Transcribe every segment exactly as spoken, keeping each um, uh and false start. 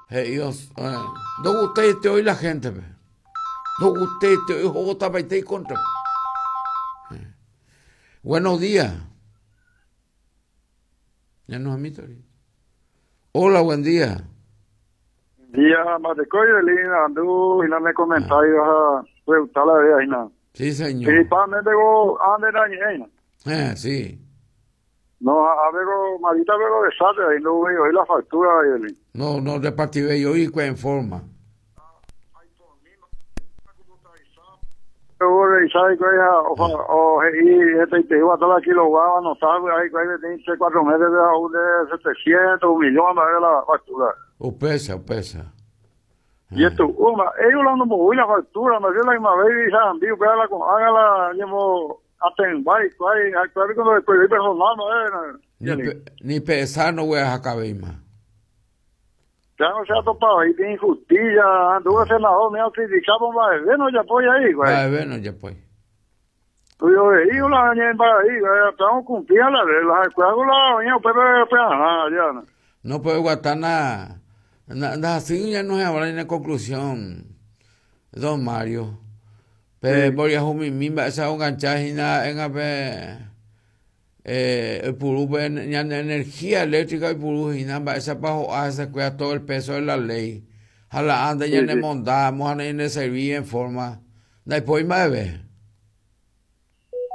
Ellos, eh, no guste hoy la gente, pe. No guste hoy vota y contra. Eh. Buenos días. Ya nos admito. Hola, buen día. Día, Matecoy, Lina, andu, y no me comentario a preguntar la vida, Ina. Sí, señor. Principalmente, go, ande la Eh, sí. No, a ver, marita, veo de sate, ahí no veo hoy la factura, ahí. No, no repartí yo y en forma. Yo revisar y o y este te iba a estar aquí lo va a anotar, ahí de cuatro meses de setecientos, un millón, a ver la factura. O pesa, o pesa. Y esto, una, ellos la no voy la factura, me la misma vez y se que la haga la llevo atendar y cuál, cuando después personal, no ni, pe, ni pesar no voy a sacar más. Ya no se ha topado ahí, tiene injusticia, anduvo el senador, me ha criticado, va no ya voy ahí, güey. Va no ya voy. Yo veía la en ahí, güey, estamos cumpliendo la regla, la doña, pues, pues, ya. No puede aguantar nada. Nada, así ya no se habla en conclusión, don Mario. Pero voy a jumimimba, esa enganchada en a ver, eh, puru, energía eléctrica y puru, esa bajo hace cuida todo el peso de la ley. A la anda ya ne mondamos, a ne servir en forma. Después más ve.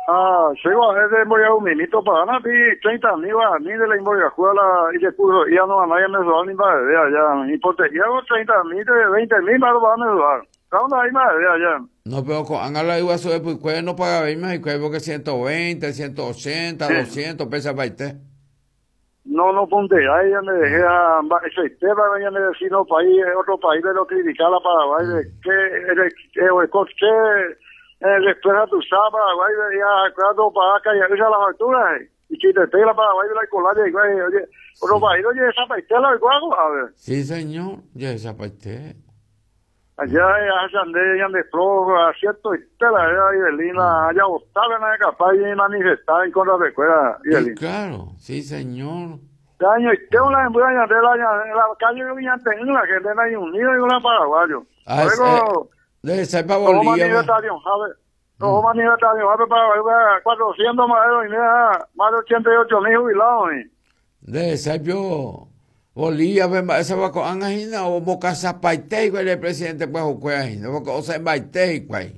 Ah, llego a ver, voy a un minuto para ganar, treinta mil a mí de la involucrada y de curso, ya no a nadie me suba ni para ver allá, y por te llevo treinta mil, veinte mil para me subar. ¿Dónde hay más allá? No, pero con Ángela igual sube, pues no paga bien más, y porque ciento veinte, ciento ochenta, sí. doscientos pesos para usted. No, no, ponte, ahí ya me dejé a ese tema, ya me decía, no, país, otro país de lo criticar a Paraguay, de que, de que, después a tu Paraguay, ya, claro, para acá, ya la factura, y si te pega la Paraguay de la cola, y oye, otro país, oye, esa paitela, a ver. Sí, señor, ya esa paitela. Allá, allá ande, ande flojo, cierto, y tela, allá, Ibelina, allá botaba, nadie capaz de manifestar en contra de escuela, Ibelina. Sí, claro, sí, señor. Año, y tengo la embulla de la, la calle de Viñanteño, la gente de Unido y una paraguayo. Ah, luego, de esa pa Bolivia. No, manifestación, Paraguay, cuatrocientos más de más de ochenta y ocho mil jubilados. De esa yo. Bolivia, esa va con Angina o Boca Zapaite, igual el presidente pues o porque o sea Baite igual.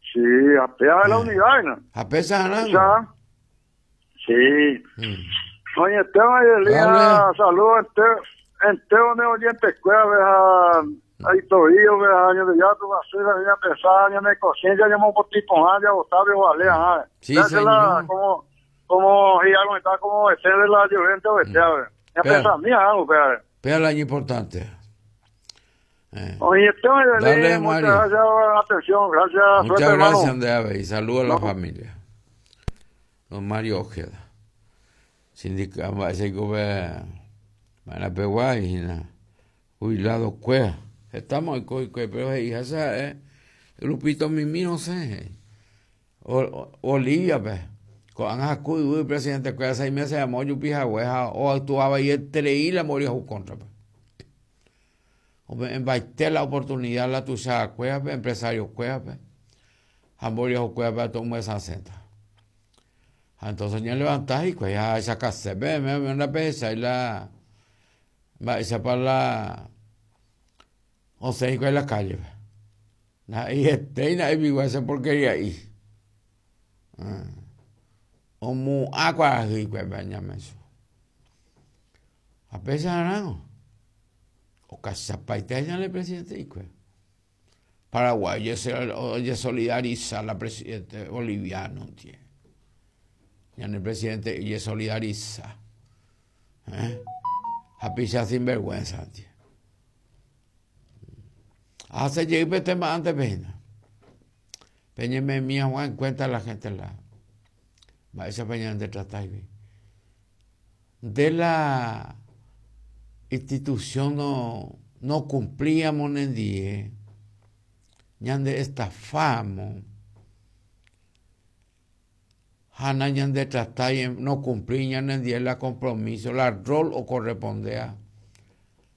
Sí, a pesar de la unidad, ¿no? A pesar de la Sí. Oye, Esteban y Elías, saludos entero de oyentes, escuela, ahí todavía, años de ya, tu basura, ya pesada, ya me conciencia, ya me por tipo, ya Octavio Valea, sí, señor. Como, como, y algo está como este de la llorente o este, a ver. Ya pesa mía, algo, pero. Pero el año importante. Eh. Oye, Dale, muchas gracias por la atención, gracias. Muchas suerte, gracias, Andrea, y saludos a la no. familia. Don Mario Ojeda. Sindicato, ese jubilado cuea. Estamos en coi, pero hija, esa eh, grupito mimi, no sé. Bolivia, pues. Con el presidente cuea seis meses llamó Yupija o actuaba y entre y la moría su contra. En baite la oportunidad la tuya cuea, empresario cuea, hamboria cuea para tomar esa senta. Entonces ya levantás y pues ya esa casa, ve, me una pesa y la va esa para la o sea, en la calle. Y este y nadie vivo esa porquería ahí. O mu agua y pues bañame eso. A pesar de o casa paita ya el presidente y pues Paraguay se solidariza la presidente boliviano, tío. Ya el presidente y solidariza. ¿Eh? A pisar sin vergüenza, tío. Hace llegue tema antes, pena. Peñeme mía Juan cuenta la gente la. Va esa peña de tratar de la institución no no cumplíamos en día. Ñande estafamos. Jana ñande tratar no cumplí ñande día la compromiso, la rol o correspondea.